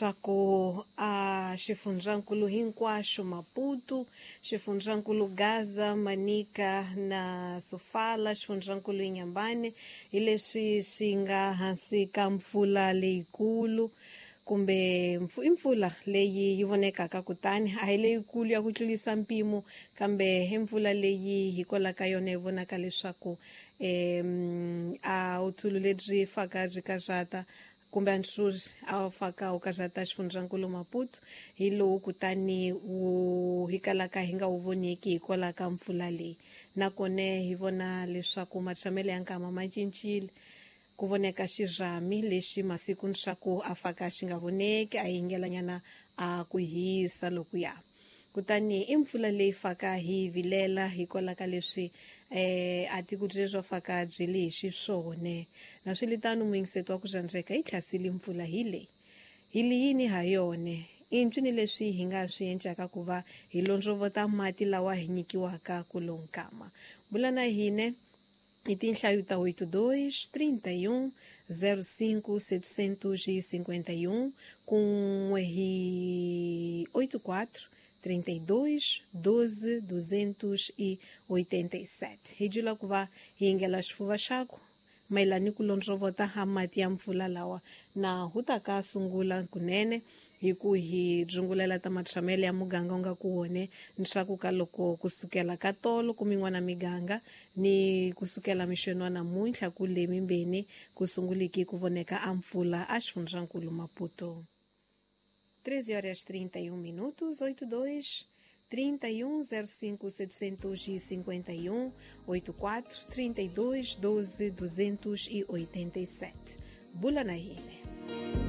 Leswaku a xifundzankulu hinkwaxo Maputo, xifundzankulu Gaza, Manica na Sofala, xifundzankulu Inhambane, hi leswi swi nga hansi ka mpfula leyikulu kumbe i mpfula leyi yi vonekaka, kutani a hi leyikulu ya ku tlulisa mpimo, kambe i mpfula leyi hikwalaho ka yona hi vonaka leswaku a uthulu lebyi faka byi karhata kumbe antsuri a wu faka wu karhata xifundzankulu Maputo hi lowu, kutani wu hi kalaka hi nga wu voneki hikwalaho ka mpfula leyi. Nakona hi vona leswaku matshamelo ya nkama ma cincile, ku voneka xirhami lexi masiku swa a faka xi nga voneki, a yingelanyana a ku hisa lokuya. Kutani i mpfula leyi faka hi vilela hikwalaho ka leswi a tiko byebyo faka byi le hi xiswona. Na swiritano, muyingiseti wa ku rhandzeka, yi tlhasile mpfula hi leyi hi li yini ha yona i ncwini leswi hi nga swi endlaka ku va hi londzovota mati lawa hi nyikiwaka ku lonkama. Bula na hine hi tinhlayo ta 82 31 05 751 kun'we hi 84 32 12 287. Hi jula ku va hi yingela xifuva xaku mayelana ni ku londzovota ha mati ya mpfula lawa na hu ta ka sungula kunene hi ku hi dzungulela ta matshamelo ya muganga u nga ku wone ntshaku ka loko kusukela ka tolo kumin'wana miganga ni kusukela mixweni wa namuntlha ku le mimbeni ku sunguliki ku voneka a mpfula a xifundzankulu Maputo. 13 horas 31 minutos, 82 31 05 751 84 32 12 287. Bula na hine.